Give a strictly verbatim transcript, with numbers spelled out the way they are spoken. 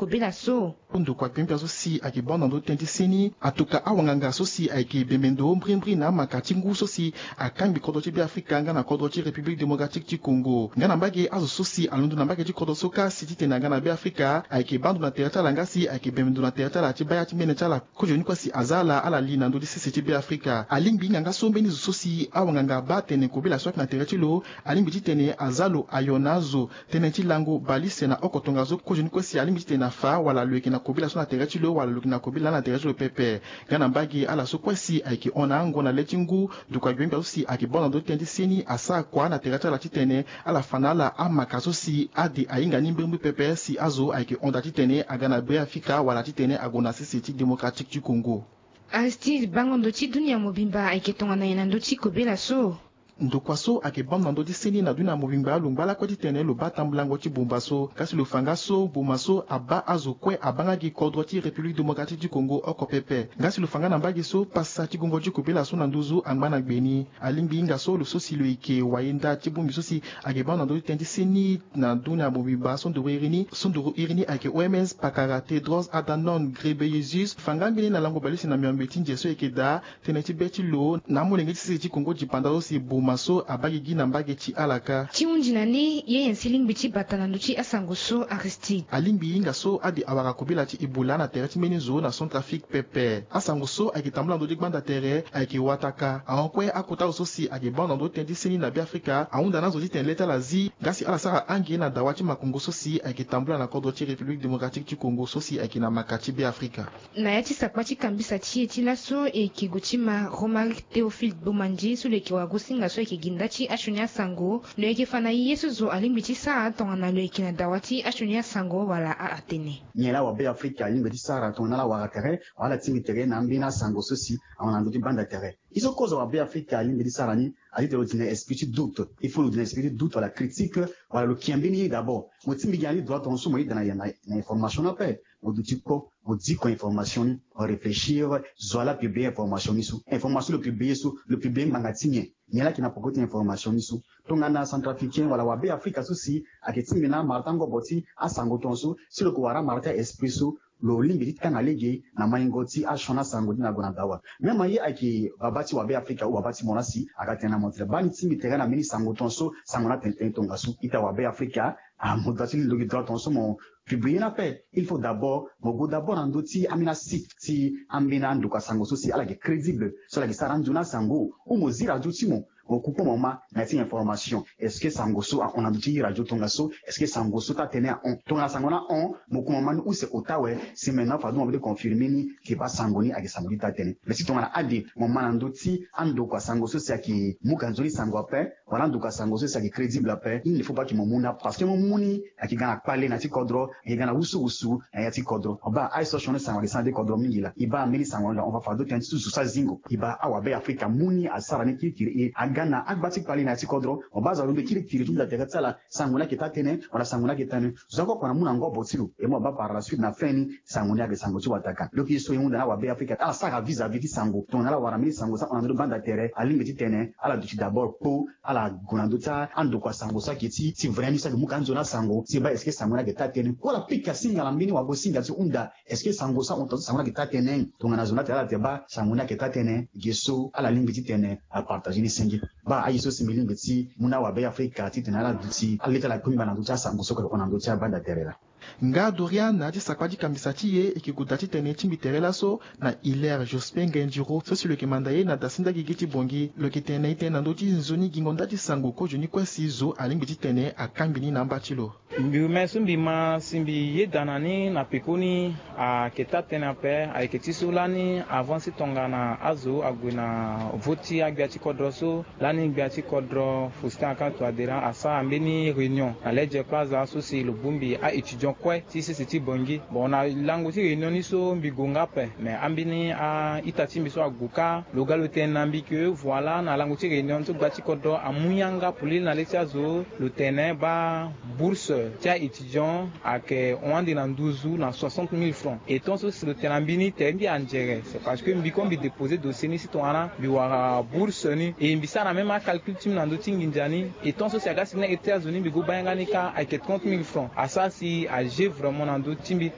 kobela so. Ndokua gbengbe so si ayeke banda ndo tënë ti seni atuka awanganga so si ayeke bembe ndo mbrimbri na amaka ti ngu so si akangbi kodro ti Beafrika nga na kodro ti République Démocratique ti Congo. Nga na mbage azo so si alondo na mbage ti kodro so kâ si titene aga na Beafrika ayeke bando na tere ti ala nga si ayeke bembe ndo na tere ti ala ti baya ti mene ti ala. Kozoni kue si aza ala ala li na ndö ti sese ti Beafrika. Alingbi hinga nga so mbeni zo so si awanganga abaa tene kobela so ayeke na tere ti lo alingbi titene aza lo ayo na azo tënë ti lango balise na oko tongaso kozoni kue si alingbi titene afa wala lo yeke na kobela so na tere ti lo wala lo yeke na kobela na tere ti lo pepe. Nga na mbage ala so kue si ayeke hon na ango na le ti ngu ndokua gbengbe so si ayeke banda ndo ti tënë ti seni asara kua na tere ti ala titene ala fa na ala amaka so si ade ahinga ni mbrimbri pepe si azo ayeke hon daa titene aga na Beafrika wala titene ague na sese ti Démocratique ti Congo. Aristide, bango ndo ti dunia mobimba ayeke tongana nyen na ndö ti kobela so? Ndokua so ayeke bâ na ndö ti seni na dunia mobimba lo ngba lakue titene lo bâ tambulango ti bumba so. Nga si lo fa nga so boma so abâ azo kue abâ nga gi kodro ti République Démocratique du Congo oko pepe. Nga si lo fa nga na mbage so pasa ti gongo ti kobela so na nduzu angba na gbe ni. Alingbi hinga so lo so si lo yeke wayenda ti bongbi so si ayeke bâ na ndö ti tënë ti seni na dunia mobimba so nduru iri ni so nduru iri ni ayeke O M S pakara Tedros Adhanom Ghebreyesus fa nga mbeni na lango balise na miombe ti nze so yeke daa tënë ti be ti lo na amolenge ti sese ti Congo dipanda so si boma so abâ gigi na mbage ti ala kâ. Ti hundi na ni ye nyen si lingbi ti bata na ndö ti asango so Aristide? Alingbi hinga so ade awara kobela ti Ebola na tere ti mbeni zo na Centrafrique pepe. Asango so ayeke tambula ndö ti gbanda tere ayeke wataka ahon kue akota zo so si ayeke bâ na ndö ti tënë ti seni na Beafrika ahunda na azo titene le ti ala zi nga si ala sara ange na dawa ti makongo so si ayeke tambula na kodro ti République Démocratique ti Congo so si ayeke na maka ti Beafrika. Na ya ti sakpa ti kambisa ti e ti laso e yeke gue ti ma Romaric Théophile Bomandji so lo yeke wagosinga so ayeke gi nda ti asioni asango. Lo yeke fa na e ye so zo alingbi ti sara tongana lo yeke na dawa ti asioni asango wala aatene. Nyen laa wabe Afrika alingbi ti sara tongana ala wara tere wala ala tingbi tere na ambeni asango so si ahon na ndö ti banda tere? Ye so kozo wabe Afrika alingbi ti sara ni, atitene lo di na esprit ti doute. Il faut lo di na esprit ti doute wala critique wala lo kia mbeni ye d'abord. Mo tingbi gi na ni droit tongaso mo yeda na, na, na information ni ape. Mo duti kpo, mo diko information ni, mo réfléchir, zo wa laa publier information ni so. Information lo publier so, lo publier ngbanga ti nyen? Nyen laa ayeke na poko ti information ni so? Tongana Centrafricain wala wabe Afrika so si ayeke tingbi na amara ti angobo ti asango tongaso, si lo yeke wara amara ti a-esprit so, lo lingbi ti tanga lege na maingo ti asioni asango ti na gue na dawa. Même aye ayeke baba ti wabe Afrika ou baba ti mo laa si aga tene na mo tere baa ni tingbi tere na mbeni sango tongaso, sango ni atene tënë tongaso. Ita wabe Afrika, ah, mo doit ti lingbi lo gi droit tongaso mo publier ni ape. Il faut d'abord mo gue d'abord na ndö ti ambeni asite ti ambeni andokua sango so si ala yeke crédible, so ala yeke sara anzoni asango. Ou mo zi radio ti mo, mo ku kpo mo ma na ya ti information. Est-ce que sango so ahon na ndö ti radio tongaso? Est-ce que sango so taa tënë ahon? Tongana sango ni ahon, mo ku mo ma ni use ota awe. Si maintenant fade mo be ti confirmer ni ke baa sango ni ayeke sango ti taa tënë. Mais si tongana ade mo ma na ndö ti andokua sango so si ayeke mu ka nzoni sango ape, wala andokua sango so si ayeke crédible ape, il ne faut pas que mo mu ni ape. Parce que mo mu ni ayeke ga na kpale na ya ti kodro, ayeke ga na wusuwusu na ya ti kodro. Mo baa aye so asioni sango ayeke sara na ya ti kodro mingi laa. E baa mbeni sango ahon fade tënë ti zo so azingo. E baa awabe Afrika mu ni asara ni kirikiri, e aga na agba ti kpale na ya ti kodro. Mo baa azo alondo kirikiri ti nda tere ti ala, sango ni ayeke taa tënë wala sango ni ayeke taa tënë. Zo oko oko na mu na ngobo ti lo. E mo baa par la suite na fin ni sango ni ayeke sango ti wataka. Donc ye so e hunda na awabe Afrika ala sara vis-à-vis ti sango. Tongana ala wara mbeni sango so ahon na ndö ti banda tere, alingbi titene ala duti d'abord kpo, ala gue na ndö ti andokua sango so ayeke ti, ti vrai ni so ayeke mu ka anzoni asango, ti baa est-ce que sango ni ayeke taa tënë. Kue ala pika singa na mbeni wagosinga ti hunda, est-ce que sango so ahon tongaso sango ni ayeke taa tënë? Tongana zo ni atene ala tene baa sango ni ayeke taa tënë, ge so ala lingbi titene apartager ni senge. Baa aye so si mbi lingbi ti mu na awabe Afrika titene ala duti, ala lê ti ala kue mbi baa na ndö ti asango so ayeke hon na ndö ti abanda tere laa. Nga Dorian na ya ti sakpa ti kambisa ti e, e yeke gue daa titene e tingbi tere laso na Hilaire Jospin Ngendiro so si lo yeke manda e na dasinda gigi ti Bangui. Lo yeke tene na e tënë na ndö ti nzoni gingo nda ti sango kozoni kue si zo alingbi titene akangbi ni na amba ti lo. Mbi rume so mbi ma si mbi yeda na ni na pekoni ayeke taa tënë ape, ayeke ti so lani avant si tongana azo ague na vote ti agbia ti kodro so, lani gbia ti kodro Faustin Archange Touadéra asara mbeni réunion na Ledger Plaza so si lo bongbi a-étudiant kue ti sese ti Bangui. Bon, na lango ti réunion ni so mbi gue nga ape, mais ambeni a-ita ti mbi so ague kâ, lo ga lo tene na mbi ke voilà na lango ti réunion ni so gbia ti kodro amu yanga polele na le ti azo, lo tene baa bourse ti a-étudiant ayeke hon ande na nduzu na soixante mille francs. Et tant so si lo tene na mbi ni tere mbi anzere, c'est parce que mbi kue mbi déposer dossier ni si tongana mbi wara bourse ni. Et mbi sara même acalcul ti mbi na ndö ti nginza ni. Et tant so si aga si ni na iri ti azo ni mbi go baa yanga ni kâ ayeke trente mille francs. Asara si ager vraiment na ndö ti mbi.